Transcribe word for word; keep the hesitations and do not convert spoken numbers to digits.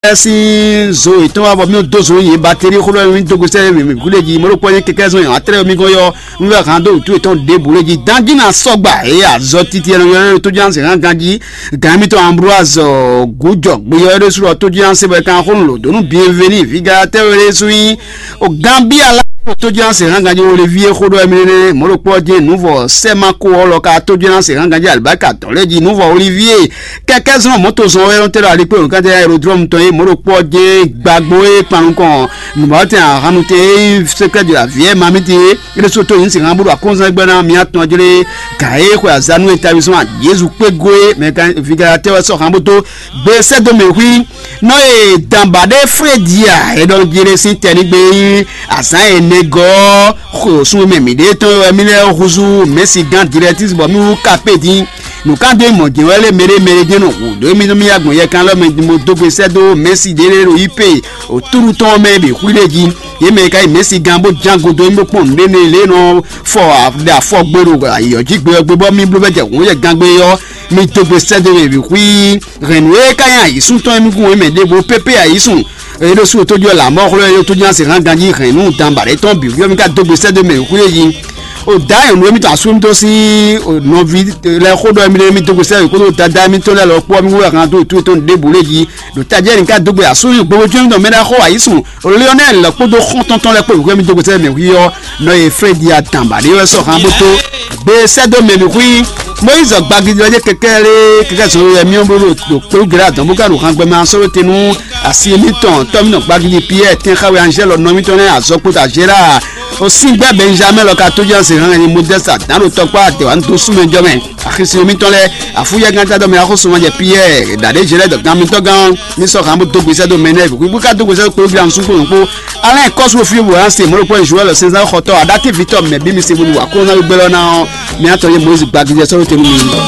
Ɛ sín zo yětɔn wá bɔ mí dó zo yě bateri xó ɖɔ mí dó gosɛ mí mí gúɖe jí mɔɖó kpɔ́ nyí kɛkɛ zɔn yǎn atrɛ mí gɔ́n yɔ mí wɛ hán dó wǔtu yětɔn ɖěbǔ lé jí dán jí ná sɔgba eye azɔ titi ɛnɛ yɔ tó jí anse hán ganjí gǎn mítɔn Ambroise gújɔ gbeyɔ ɖé sú ɖɔ tó jí anse bɔ kan xó lò dó nú bienveni viga tɛwé ɖé sú nyí o Gambia lá tó jí anse hán ganjí Olivier xó ɖɔ mí nɛnɛ mɔɖó kpɔ́ jí nǔvɔ sɛma kó ɔlɔ ka tó jí anse hán ganjí alibaka tɔn lé jí nǔvɔ Olivier kɛkɛ zɔn mɔto zɔn wɛ tɛ ɖo alikpe o kɛtɛ aérodrome tɔn ye mɔɖo kpɔ jɛ gbagbo ye kpanu kɔn nubawɔ tɛ ahanu tɛ ye secret de la vie mamiti ye ele so to yin si han bolo akonzan gbɛ na mi atɔn jele ka ye xɔ azanu eta bi sɔn Jesu kpe go ye mɛ kan vigala tɛ wɛ sɔ han bo to gbe sɛ do mɛ hui nɔ ye danba ɖe fredi a e ɖɔ jele si tɛ ni gbe yi azan ye ne gɔ xo sun mɛ mi ɖe tɔn wɛ mi lɛ huzu mɛsi gan directrice bɔ mi wu kape din nǔkanjɔ mɔ̌ jɛ́n wɛ lé mɛɖé mɛɖé jɛ́n nɔ hu ɖó émí nú mì agbɔ̌n yɛkan lɔ mɛ mo dó gbe sɛ́ dó Mɛsi ɖé lé ɖo yí pe òtúɖu tɔn mɛ bǐ xwlí ɖé jí. Yě mɛ ka yi Mɛsi gán bó ján godo émí bó kpɔ́n nǔɖé nɛ lě nɔ fɔ ɖe afɔ gbe ɖo ayǐyɔ jí gbe ɔ́ gbe bɔ mì bló bɛ jɛ hǔn yɛ gán gbe ɔ́ mi dó gbe sɛ́ dó mɛ bǐ xwí hɛ̌nnu e ka nyí ayǐsúntɔ́ émí kún émɛ ɖěvo pépé ayǐsún. Eye ɖo sú tójú ɔ́ lǎmɔ́ xlɔ́ eye tójú ná se hán ganjí hɛ̌nnu danba ɖé tɔn bǐ xwí ɔ́ mì ka dó gbe sɛ́ dó mɛ bǐ xwí é jí. O da nyɔ̌nu émítɔn asú émítɔn sín nɔví lɛ́ɛ xó ɖɔ émí ɖé émí dó gbe sɛ́ kódó dada émítɔn lɛ́ɛ lɔ kpó émí wú hɛn dó tó tɔn ɖěbǔ lé jí ɖo tají ɛnì ká dó gbe asú gbogbo jó émítɔn mɛ ɖá xó ayísùn Lionel lɔ kpódó xɔ́ntɔn tɔn lɛ́ɛ kpó wíwú émí dó gbe sɛ́ mɛ hwí ɔ́ nɔ e Frédi a dǎn ba ɖé wɛ sɔ́ hán bó tó gbe sɛ́ dó mɛ bǐ xwí. Moyiz gbagidi ɔ́ jẹ́ kɛkɛ lé kɛkɛ zɔn yɛ miɔ bó ɖo kpéwú gɛlɛ adɔn bó ká ɖo hán gbɛmɛ asɔ́ te nú asi émítɔn tɔ́mínɔ gbagidi Pierre tɛn xá wɛ Angèle nɔ émítɔn lɛ́ɛ azɔkpota Gérard Osingbɛ Benjamin lɔ ka tójú ɔ́ se hɛn ni Modeste adǎn ɖo tɔkpá àtɛwá ń dó súnmɛ jɔ mɛ. Axisúnɔ mitɔn lɛ́ɛ, afúyɛgán tá dɔmɛ axósúnmɔ jɛ Piyɛ́ɛ, ɖaɖéjɛ lɛ́ɛ dɔ gan mitɔn gán, mí sɔ́ hǎn bó dó gbesɛ dó mɛ nɛ́, bó ka dó gbesɛ dó kpéwúgbla nusú kpó nukpó. Alɛ́n kɔ́sú fí wǒ án se mɔ̌ ɖokpó Joɛl sɛnzán xɔtɔ́ aɖátíví tɔn mɛ bí mi se bó nu wǎ kó ná gbé lɔ ná ɔ́, mi atɔn yé Mɔyízi gbagíjɛ sɔ́ ɖó te nú mi.